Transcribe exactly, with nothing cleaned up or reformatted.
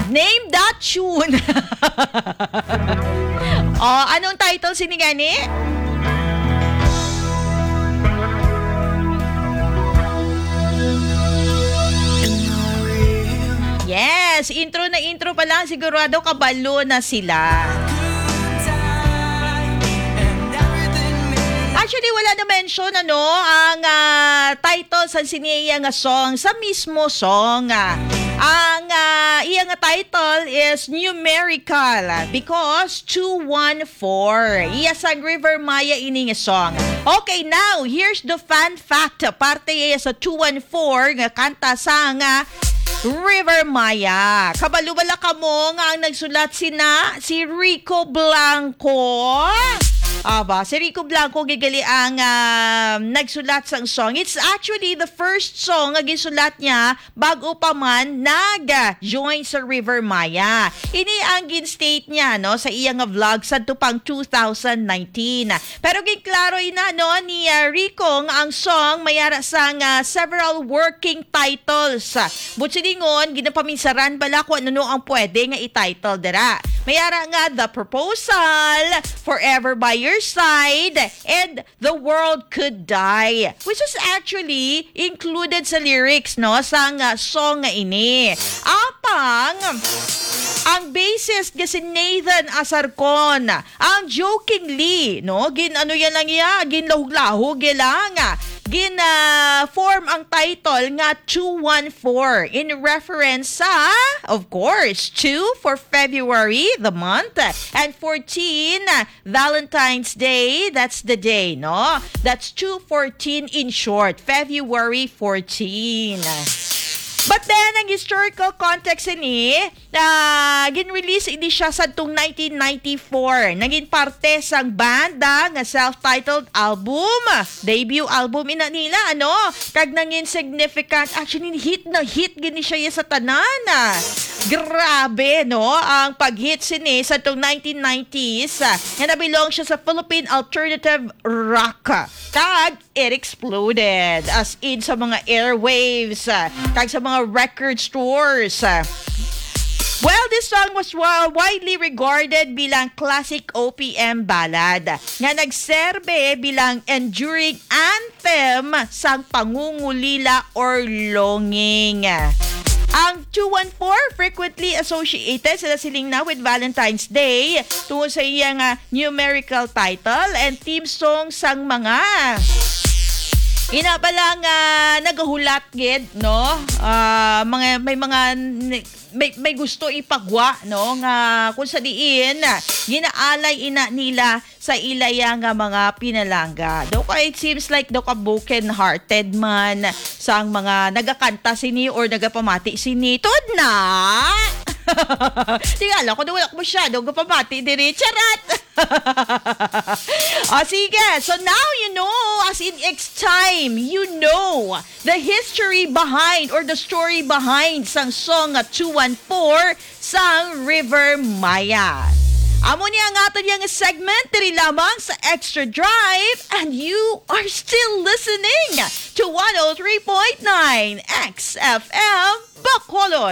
Name that tune. Oh, anong title sini gani? Yes, intro na intro pa lang, sigurado kabalo na sila. Actually, wala na mention, ano, ang, ah, title sa sini iya nga song, sa mismo song. Ah, ang, ah, iya nga title is numerical because two one four. Iya sang River Maya ini nga song. Okay, now, here's the fun fact. Parte iya sa two one four nga kanta sang, ah, River Maya. Kabalo bala kamo nga ang nagsulat sina si Rico Blanco? Aba, si Rico Blanco gid gali ang, ah, nagsulat sang song. It's actually the first song nga gisulat niya bago pa man nag-join sa River Maya. Ini ang gin-state niya, no, sa iya nga vlog sadto pang two thousand nineteen. Pero ginklaro ina, no, ni, ah, Rico nga ang song may ara sang, ah, several working titles. But silingon, ginapaminsaran bala kung ano ang pwede nga i-title dira. May ara nga The Proposal, Forever by Your Side, and The World Could Die, which is actually included sa lyrics, no, sang, ah, song nga ini. Apang ang bassist nga si Nathan Asarcon, ang jokingly, no, gin-ano yan lang iya, ginlahog-lahog yan lang, ah, gin, ah, form ang title nga two one four in reference sa, of course, two for February, the month, and fourteen, Valentine's Day, that's the day, no? That's two fourteen in short, February fourteen. But then, ang historical context ini, ah, gin-release ini siya sadtong nineteen ninety-four. Naging parte sang banda nga self-titled album. Debut album ina nila, ano? Kag nangin significant. Actually, hit na hit gini siya sa tanan, ah. Grabe, no? Ang pag-hit sini sa tong nineteen nineties, ah, nga nabilong siya sa Philippine alternative rock. Kag it exploded, as in sa mga airwaves, ah, kag sa mga record stores, ah. Well, this song was wa-, widely regarded bilang classic O P M ballad nga nagserbe bilang enduring anthem sang pangungulila or longing. Ang two one four frequently associated sila siling na with Valentine's Day tungod sa iya nga numerical title and theme song sang mga ina pa lang, ah, nagahulat gid, no? Ah, mga, may mga ni-, may, may gusto ipagwa, no, nga kung sa diin ginaalay ina nila sa ilaya nga mga pinalangga. Daw ka, it seems like daw ka broken-hearted man sang mga nagakanta sini or nagapamati sini. Tuod na! Tingala ko na wala ko masyado gapamati diri. Charot! O, sige. So now you know, as in it's time, you know the history behind or the story behind sang song nga two one four sang River Maya. Amo ni ang aton yang segment diri lamang sa Extra Drive, and you are still listening to one oh three point nine X F M Bacolod.